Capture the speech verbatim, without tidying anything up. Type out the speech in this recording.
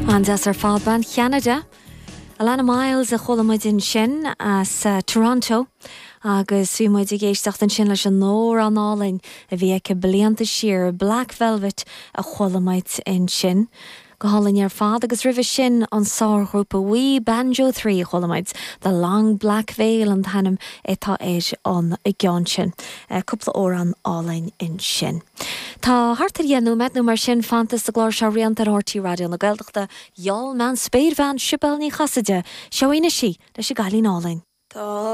An-deas ar fad bean Cheanada. Alannah Myles a chuala muid ansin as uh, Toronto agus bhí muid ag éisteacht ansin leis an amhrán álainn a bhí aici blianta siar Black Velvet a chuala muid ansin. Go hálainn ar fad agus roimhe sin an sárghrúpa We Banjo trí chuala muid The Long Black Veil an t-ainm atá ar an gceann sin. Cúpla amhrán álainn ansin. Tá thart ar dheich nóiméad nó mar sin fanta sa gclár seo rianta ar R T Raidió na Gaeltachta, Gheall meán spéirbhean Sibéal Ní Chasaide, seo í leis an gcailín álainn. Tá